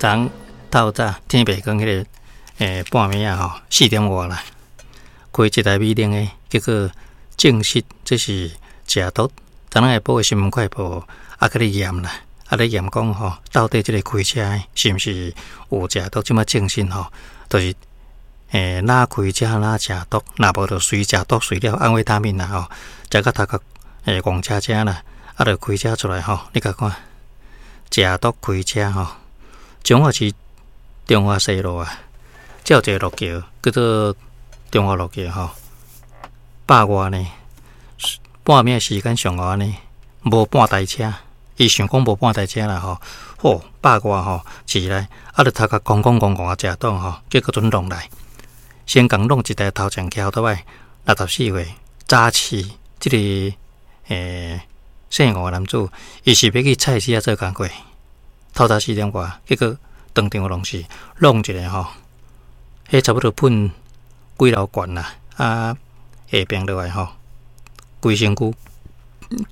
昨透早天袂光彼个半暝仔吼四點外啦，開一台美玲的，結果證實這是食毒。昨昏下晡的新聞快報猶閣咧驗啦，啊咧驗講吼，到底這個開車的是毋是有食毒？這擺證實吼，就是若開車若食毒，若無就隨食毒隨了安非他命啦吼，食甲頭殼戇車車啦，啊就開車出來吼，你共看，食毒開車吼，彰化市中華西路啊，這有一个路橋叫做中華路橋吼，百外呢，半暝時間上午按呢，無半台車，伊想講無半台車啦吼，好百外吼，市內啊，就頭殼空空戇戇啊，食毒吼，結果陣弄來，先共弄一台頭前橋倒來，64歲早市這个姓吳的男子，伊是欲去菜市仔做工課，透早四點外，結果當場弄死，弄一个吼，彼差不多噴幾樓懸啦，啊下爿落來吼，規身軀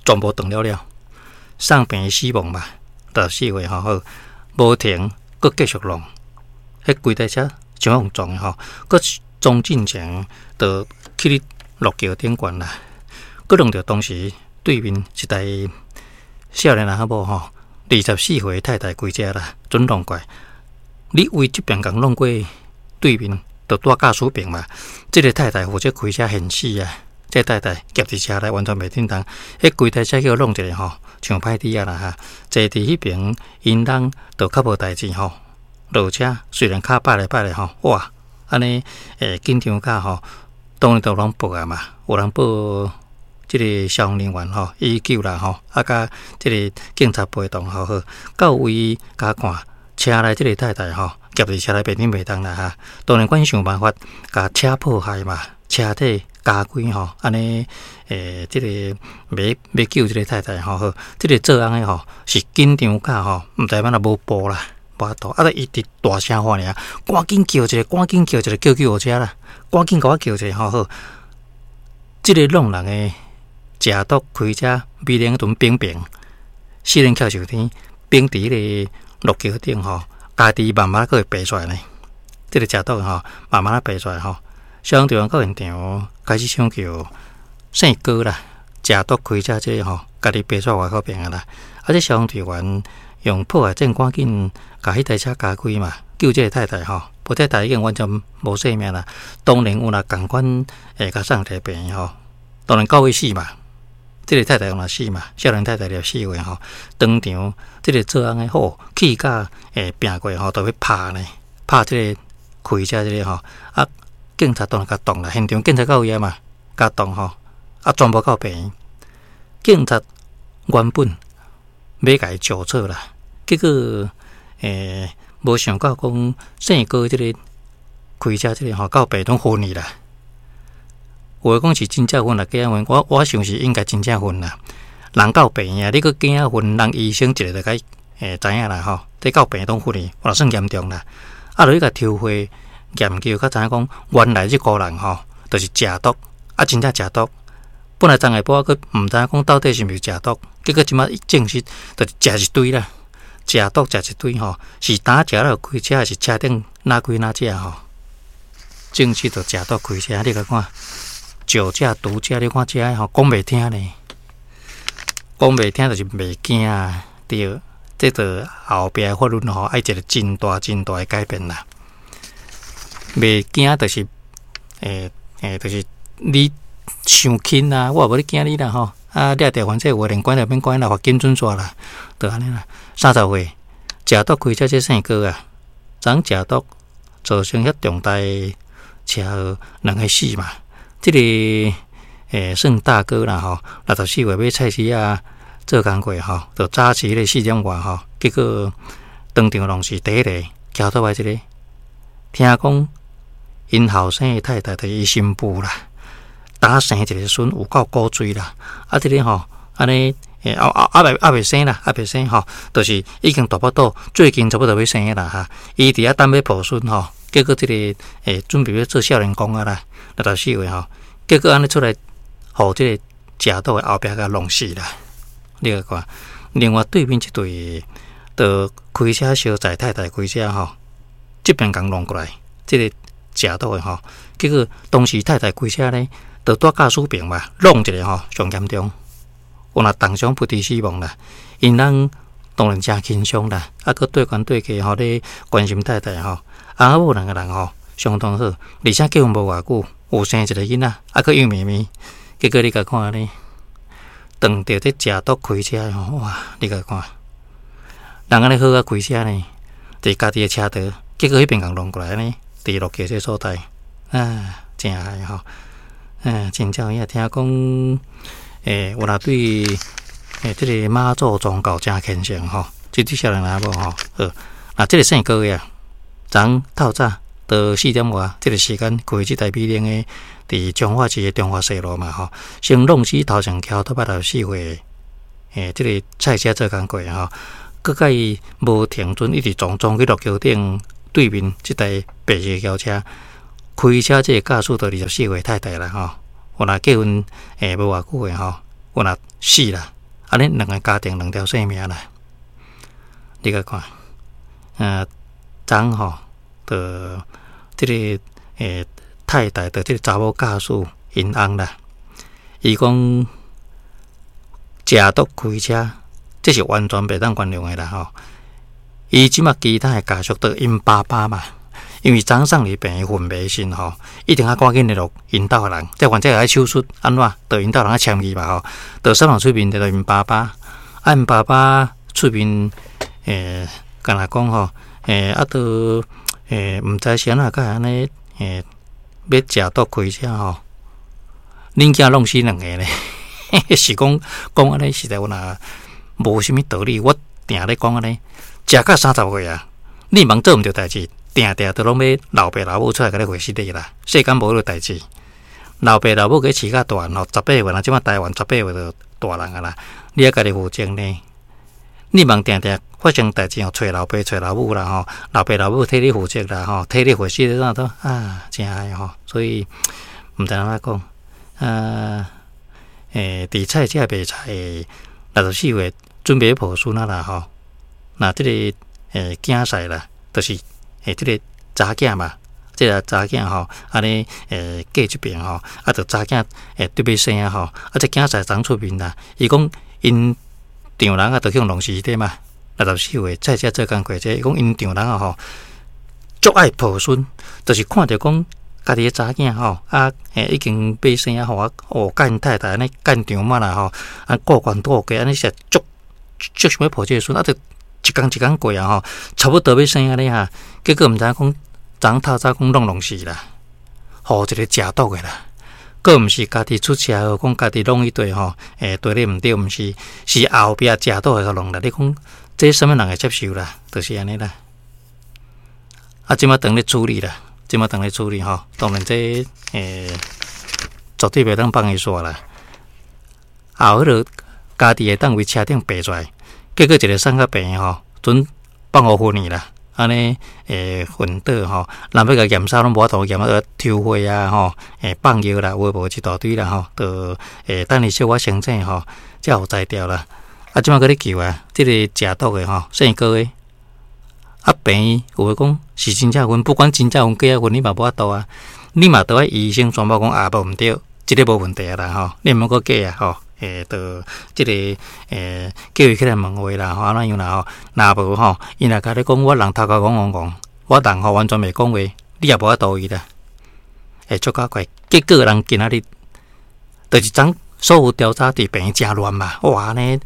全部斷了了，送病死亡嘛，64歲吼好，無停，閣繼續弄，彼規台車像予人撞的吼，閣撞進前就去咧路橋頂懸啦，閣撞著當時對面一台少年人仔某吼，24歲太太開車啦，準弄過來，你為這爿共弄過對面，就蹛駕駛爿嘛，這个太太負責開車現死啊！這个太太夾佇車內完全袂振動，彼規台車叫弄一个吼，像歹豬仔啦哈！坐佇彼爿𪜶翁就較無代誌吼，落車雖然跤擺來擺來吼，哇！按呢緊張甲吼，當然都有人報啊嘛，有人報這个消防人員吼，119啦吼，啊佮這个警察陪同吼好，到位共看車內這个太太吼，夾佇車內袂振袂動啦哈，當然阮想辦法共車破壞嘛，車體加開吼，按呢這个欲欲救這个太太吼好，這个做翁的吼是緊張甲吼，毋知欲按怎無步啦，無法度，啊！伊直大聲喊爾，趕緊叫一个，趕緊叫一个叫救護車啦，趕緊共我叫一个吼好。這个弄人的食毒開車，美玲陣冰冰，四輪翹上天，冰佇彼个路橋頂吼，家己慢慢閣會爬出來呢。這个食毒吼，慢慢仔爬出來吼。消防隊員到現場開始搶救，姓高啦，食毒開車這个吼，家己爬出來外口爿啊啦。啊，這消防隊員用破壞證趕緊共彼台車加開嘛，救這个太太吼，無太太已經完全無性命啦。當然有若仝款會共送佇病院吼，當然到尾死嘛。這个太太嘛死嘛，少年太太64歲吼，當場這个做翁的好氣甲拚過吼，就欲拍呢，拍這个開車這个吼，啊，警察當然共擋啦，現場警察到位啊嘛，共擋吼，啊，全部到病院。警察原本欲共伊招錯啦，結果無想到講姓高這個開車這個吼，到病院昏去啦。有的講是真正昏啦，假昏，我想是應該真正昏啦。人到病院，你閣假昏，人醫生一下就共知影啦吼。這到病院攏昏去，嘛算嚴重啦。啊，落去共抽血研究，才知影講原來這個人吼，就是食毒，啊，真正食毒。本來昨下晡閣毋知影講到底是毋是食毒，結果這擺證實，就是食一堆啦，食毒食一堆吼，是當食了開車，還是車頂哪開哪食吼？證實就食毒開車，你共看。酒駕、毒駕，你看這吼講袂聽呢，講袂聽就是袂驚啊，對，這就後壁的法律吼，愛一個真大真大的改變啦。袂驚就是，就是你傷輕啊，我也無咧驚你啦吼。啊，掠著反正有的連關就免關啦，罰金準煞啦，就按呢啦。30歲，食毒開車這姓郭啊，昨食毒造成遐重大車禍，兩个死嘛。這个算大哥啦吼，64歲欲菜市仔做工課吼，就早市彼个四點外吼，結果當場攏是第一个橋倒來這个，聽講𪜶後生的太太就是伊新婦啦，當生一个孫有夠古錐啦，啊，這个吼，按呢猶未生啦，猶未生吼，就是已經大腹肚，最近差不多欲生啦哈，伊佇遐等欲抱孫吼，結果這个準備欲做少年公啊啦，64歲吼，結果按呢出來，予這个食毒的後壁共弄死啦。你來看，另外對面這對，就開開車相載太太開車吼，這邊共弄過來，這个食毒的吼，結果當時太太開車呢，就蹛駕駛爿嘛，弄一个吼上嚴重，有若重傷不治死亡啦。𪜶翁當然誠輕鬆啦，啊，閣對懸對客吼咧關心太太吼，翁仔某兩个人吼相當好，而且結婚無偌久，有生一个囡仔，啊，閣幼咪咪，結果你共看呢，當著這食毒開車吼，哇！你共看，人按呢好啊開車呢，佇家己的車道，結果彼邊共弄過來呢，佇落橋這所在，啊，誠害吼，真正有影聽講，有若對這个媽祖宗教誠虔誠吼，這對少年人某吼，好，啊，這个姓高的啊，昨昏透早到四點外，這个時間開這台美玲的，佇彰化市的中華西路嘛吼，先弄死頭前橋頭64歲，這个菜車做工課吼，閣共伊無停準，一直撞撞去陸橋頂對面這台白色轎車，開車這个駕駛就24歲太太啦吼，有若結婚無偌久的吼，有若死啦，按呢兩个家庭兩條性命啦，你共看，昨昏吼，就這个太太的這个查某駕駛𪜶翁啦，伊講食毒開車，這是完全袂當原諒的啦吼。伊這馬其他的家屬都𪜶爸爸嘛，因為昨昏送入病院昏迷時吼，一定愛趕緊聯絡𪜶兜的人，這患者愛手術按怎，就𪜶兜人愛簽字嘛吼，就送人出面就𪜶爸爸，啊𪜶爸爸出面敢若講吼，啊都毋知是按怎才會按呢欲食毒開車吼，恁囝弄死兩个呢？是講講按呢，實在有若無啥物道理。我定咧講按呢，食到30歲啊，你茫做毋著代誌，定定都攏欲老爸老母出來共你回事的啦。世間無彼个代誌，老爸老母共飼甲大漢吼，18歲，若這馬台灣十八歲就大人啊啦，你愛家己負責呢。你茫定定發生代誌吼，揣老爸揣老母啦吼，老爸老母替你負責啦吼，替你回事怎都啊，誠害吼，所以毋知按怎講啊？佇菜市賣菜64歲準備抱孫仔啦吼，那這个囝婿啦，就是這个查囝嘛，這个查囝吼，按呢過這爿吼，啊，就查囝得欲生啊吼，啊，這囝婿昨昏出面啦，伊講𪜶丈人啊，就去予弄死的嘛，64歲菜市做工課這，伊講𪜶丈人啊吼，足愛抱孫，就是看著講家己的查囝吼，啊已經欲生啊吼，啊哦，佮𪜶太太按呢干丈嘛啦吼，啊顧懸顧低按呢是足足想欲抱這个孫，啊就一工一工過啊吼，差不多欲生按呢哈，結果毋知影講昨昏透早講攏弄死啦，予一個食毒的啦。閣毋是家己出車禍，講家己弄一堆吼，對咧毋對，毋是，是後壁食毒的共弄啦。你講這啥物人會接受啦？就是按呢啦。啊，這馬當咧處理啦，這馬當咧處理吼。當然這絕對袂當放伊煞啦。後彼个家己會當為車頂爬出來，結果一个送到病院吼，準放予昏去啦。按呢昏倒吼，人欲共驗衫攏無法度驗啊，抽血啊吼，放藥啦，有的無的一大堆啦吼，就等伊小可清醒吼，才有才調啦。啊，這馬閣咧救啊，這个食毒的吼，姓高的，啊，病院有的講是真正昏，不管真正昏假昏，你嘛無法度啊，你嘛著愛醫生宣布講啊，無毋對，這个無問題啊啦吼，你毋好閣假啊吼。就這个叫伊起來問話啦，吼，按怎樣啦吼？若無吼，伊若共你講，我人頭殼戇戇戇，我人吼完全袂講話，你也無法度伊啦。會足搞怪，結果人今仔日就是昨昏所有調查佇病院誠亂嘛，哇，按呢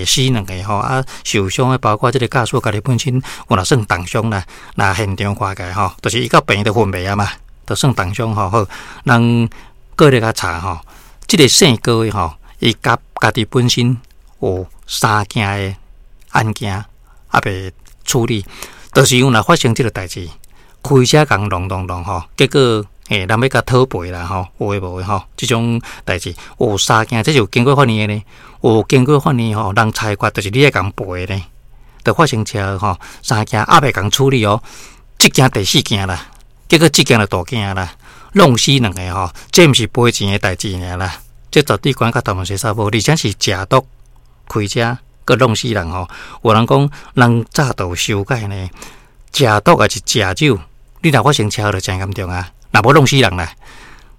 死兩个吼，啊受傷的包括這个駕駛家己本身有若算重傷啦，若現場看起來吼，就是伊到病院就昏迷啊嘛，就算重傷吼。好，人閣咧共查吼，這个姓高的吼。伊家家己本身有三件的案件猶未處理，就是因為若發生這个代誌，開車共弄弄弄吼，結果人欲共討賠啦吼，有的無的吼，這種代誌有三件，這是有經過法院的呢，有經過法院吼，人裁決就是你愛共賠的呢，就發生車禍吼，三件猶未共處理哦，這件第四件啦，結果這件就大件啦，弄死兩个吼，這毋是賠錢的代誌爾啦。這絕對關佮台灣洗衫無，而且是食毒開車，閣弄死人吼。有人講人早就有修改呢，食毒抑是食酒，你若發生車禍就誠嚴重啊！若無弄死人啦，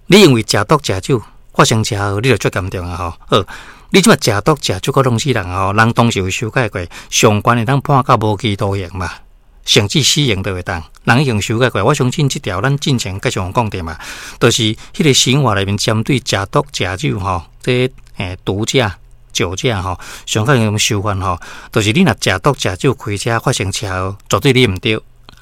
你因為食毒食酒發生車禍，你就足嚴重啊！吼，好，你這馬食毒食酒閣弄死人吼，人當時有修改過，上懸會當判到無期徒刑嘛，甚至死刑都會當。人已經修改過，我相信這條咱進前繼續講著嘛，就是彼個刑法內面針對食毒食酒吼，這毒駕、酒駕吼，上較用修法吼，就是你若食毒食酒開車發生車禍，絕對你毋對，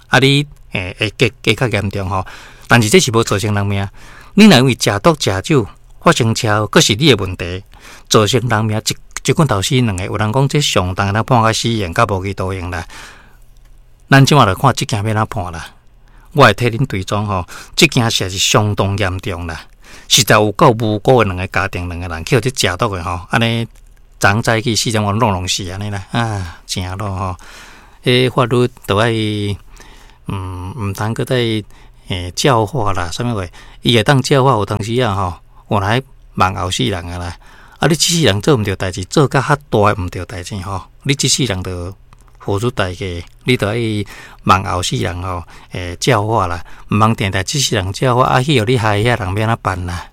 啊你會加加較嚴重吼。但是這是無造成人命，你若因為食毒食酒發生車禍，閣是你的問題，造成人命一一棍頭死兩個。有人講這上重會判甲死刑，佮無期徒刑啦。咱這馬來看這件欲按怎判啦？我會替恁追蹤吼，這件事是相當嚴重啦，實在有夠無辜的兩個家庭，兩個人去予這食毒的吼，按呢昨早起4點鐘弄弄死按呢啦，啊，誠囉吼，彼法律都愛，毋通閣再教化啦，啥物話？伊會當教化有當時啊吼，有來望後世人啊啦。啊，你這世人做毋著代誌，做甲較大的毋著代誌吼，你這世人就付出代價，你著愛望後世人吼，教化啦，毋通定定這世人教化，啊，去予你害遐人欲按怎辦啦？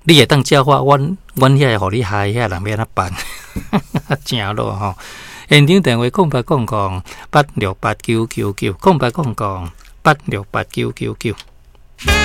你會當教化阮，阮遐個予你害遐人欲按怎辦？誠囉吼！現場電話0800868999，0800868999。